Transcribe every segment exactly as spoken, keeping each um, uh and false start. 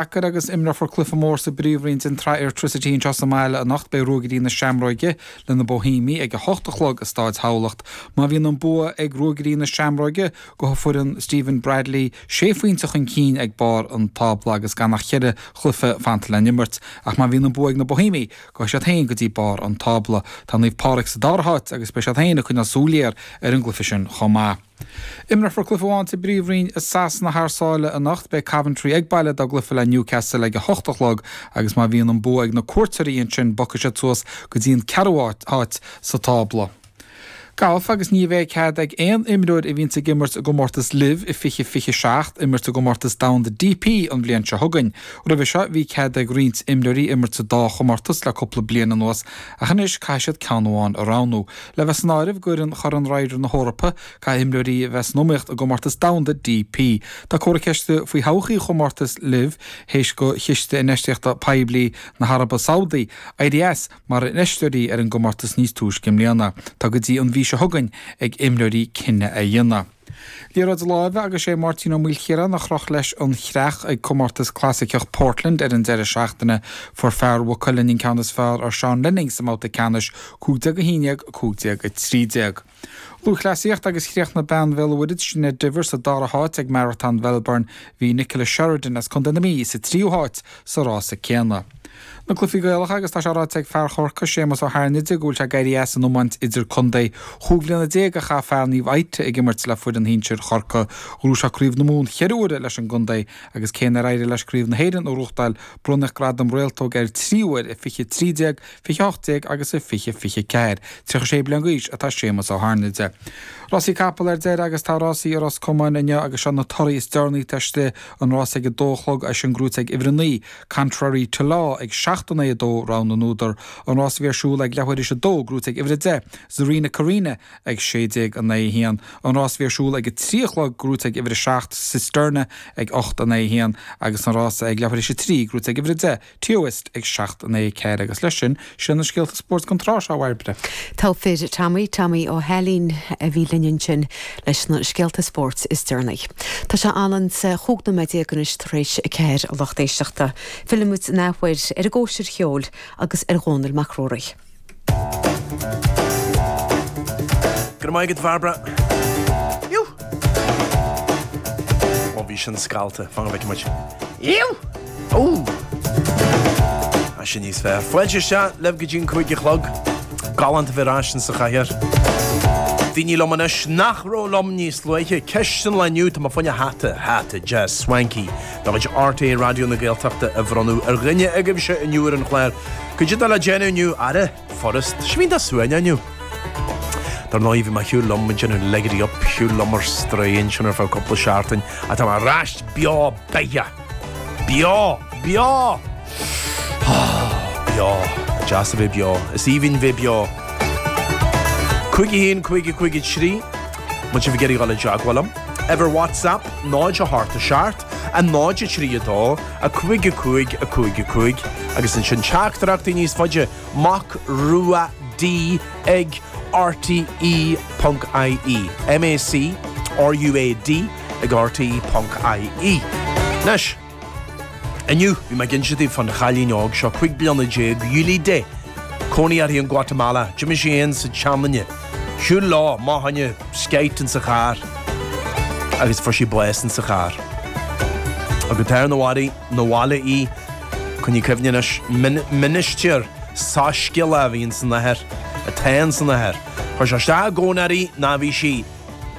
Deacair agus imreofar cluiche mór sa bPríomhroinn den tsraith Airtricity anseo sa mbaile anocht. Beidh Ruagairí na Seamróige le na Boihéimigh ag a hocht a chlog i Stáid Thamhlacht. Má bhíonn an bua ag Ruagairí na Seamróige, gabhfaidh foireann Stephen Bradley sé phointe chun cinn ag barr an tábla agus gan ach cheithre chluiche fanta le n-imirt. Ach má bhíonn an bua ag na Boihéimigh, gabhfaidh siad féin go dtí barr an tábla. Tá Naomh Pádraig sa dara háit agus beidh siad féin ag coinneáil súil ghéar ar an gcluiche sin chomh maith. Imreofar cluiche amháin sa bPríomhroinn i Sasana thar sáile anocht. Beidh Coventry ag baile dá gcluiche le Newcastle ag a hocht a chlog agus má bhíonn an bua ag na cuairteoirí ansin bogfaidh siad suas go dtí an ceathrú háit sa tábla. Galf agus ní bheidh cead ag aon imreoir a bhíonns ag imirt i gcomórtas LIV i fiche fiche seacht imirt i gcomórtas domhanda DP an bhliain seo chugainn. Roimhe seo bhí cead ag roinnt imreoirí imirt sa dá chomórtas le cúpla bliain anuas ach anois caithfidh siad ceann amháin a roghnú. Le bheith san áireamh d'fhoireann Chorn Ryder na hEorpa caithfidh imreoirí a bheith san iomaíocht i gcomórtas domhanda DP. Tá comhartha ceiste faoi thodhchaí chomórtas LIV théis do chiste infheistíochta poiblí na hAraibe Sabhdaí éirí as mar infheisteoirí ar an gcomórtas níos túisce i mbliana. Tá go dtí an mhí seo chugainn ag imreoirí cinneadh a dhéanamh. Liathróid láimhe agus sé Máirtín Ó Maoilchiaráin a chroch leis an chreach ag comórtas clasaiceach Portland ar an deireadh seachtaine. Fuair fear Mhaigh Cuilinn an ceann is fearr ar Seán Lenning sa mbabhta ceannais, cúig déag a haon déag, cúig déag a trí déag. Lúthchleasaíocht agus chríochnaigh bean Bhéal an Mhuirthead, Sinéad Diver, sa dara háit ag Maratón Mhelbourne. Bhí Nicola Sheridan as Contae na Mí sa tríú háit sa rása céanna. Na cluichí Gaelacha agus tá sé ráite ag fear Chorcaí, Séamus Ó hAirnide, go bhfuil sé ag éirí as an iomáint idir-contae. Chúig bhliana déag a chaith fear Naomh Ita ag imirt le foireann shinsir Chorcaí. Ghnóthaigh sé Craobh na Mumhan cheithre huaire leis an gcontae agus cé nár éirigh leis Craobh na hÉireann a ghnóthachtáil, bronnadh gradam réaltóg air trí huair i fiche trí déag, fiche hocht déag agus i fiche fiche ceathair. Tríocha sé bliain d'aois atá Séamus Ó hAirnide. Rásaí capall ar deireadh agus tá rásaí i Ros Comáin inniu agus seo na torthaí is deireanaí atá istigh, an rás ag a dó a chlog, é sin gnóite ag uimhir a naoi, Contrary to Law, ag seacht in aghaidh a dó, rogha na n-údar. An rás a bhí ar siúl ag leathuair théis a dó, gnóite ag uimhir a deich, Zarina Karina, ag sé déag in aghaidh a haon. An rás a bhí ar siúl ag a trí a chlog, gnóite ag uimhir a seacht, Cisterna, ag ocht in aghaidh a haon agus an rás ag leathuair théis a trí, gnóite ag uimhir a deich, Teoist, ag seacht in aghaidh a ceathair agus leis sin, sin na scéalta spóirt don tráth seo, a Bhairbre. Togha fir Tommy, Tommy Ó hAilín a bhí linn ansin leis na scéalta spóirt is deireanaí. Tá sé anonn sa chúig nóiméad déag anois tar éis a ceathair a lucht éisteachta. Fillfimid an athuair ar an gcóisir cheoil agus ar Dhónall Mac Ruairí. Go raibh maith agat, a Bhairbre. Iú! Ó, bhí sin scallta. Fan go bhfeicfidh muid. Iú! Ó! Tá sin níos fearr. Fáilte isteach libh go dtí an cúig a chlog. Galánta bheith ar ais insa chathaoir. Daoine liom anois nach raibh liom níos luaithe. Ceist an lae inniu, tá mé fá choinne hata, hata deas swanky de chuid RTÉ Raidió na Gaeltachta a bhronnadh ar dhuine agaibhse inniu ar an chlár. Cad é atá le déanamh inniu? Ara, furast. Tá sé iontach suaimhneach inniu. Dar ndóigh, bhí mé ar shiúl liom ag déanamh ligery up, shiúl liom ar strae ansin ar feadh cúpla seachtain, ach tá mé ar ais beo beathach! Beo! Beo! Beo! Deas a bheith beo. Is aoibhinn bheith beo. Cúig a haon, cúig a cúig a trí, má tá sibh ag iarraidh dul i dteagmháil liom. Uimhir WhatsApp, náid a hocht a seacht, a náid a trí a dó, a cúig a cúig a cúig a cúig, agus ansin teachtaireachtaí níos faide, Mac Rua D ag rte ponc ie. M A C R U A D ag rte ponc ie. Anois, inniu, bhí mé ag inse daoibh fán chailín óg seo, cúig bliana déag, Yulide, cónaí uirthi in Guatemala. D'imigh sí féin is a seanduine. Shiúil leo, amach fá choinne skeit insa charr agus fuair sí bás insa charr. Agus tar 'na bhaile, 'na bhaile í, coinnigh cuimhne anois, ministir soiscéalach a bhí insan athair, atá insan athair. Chuir sé isteach i gcónair í ná bhí sí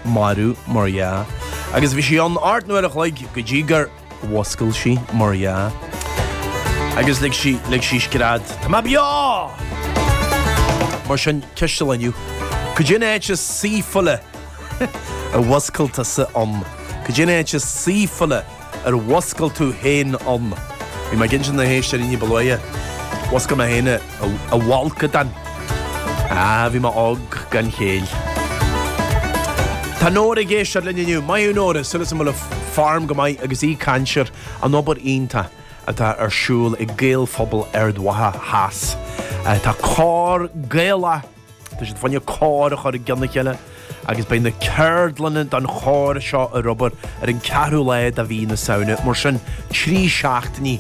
marbh, mar dhea. Agus bhí sí ann ocht n-uair a chloig go dtí gur mhuscail sí, mar dhea. Agus lig sí, lig sí scread, Tá mé beo! Mar sin, ceist an lae inniu, cad é an áit is saoithiúla ar mhuscail tusa ann? Cad é an áit is saoithiúla ar mhuscail tú féin ann? Bhí mé ag inse do na héisteoirí ní ba luaithe. Mhuscail mé féin i bhfolcadán. Ah, bhí mé óg gan chéill. Tá Nóra ag éisteacht linn inniu. Maith thú Nóra, súil agam go bhfuil form go maith agus í ag caint ar an obair iontach atá ar siúl ag Gaelphobal Ard Mhacha Theas. Tá cór Gaelach, tá siad fá choinne cór a chur i gcionn a chéile. agus beidh na ceardlanna don chór seo ar obair ar an ceathrú lá de mhí na Samhna, mar sin trí seachtainí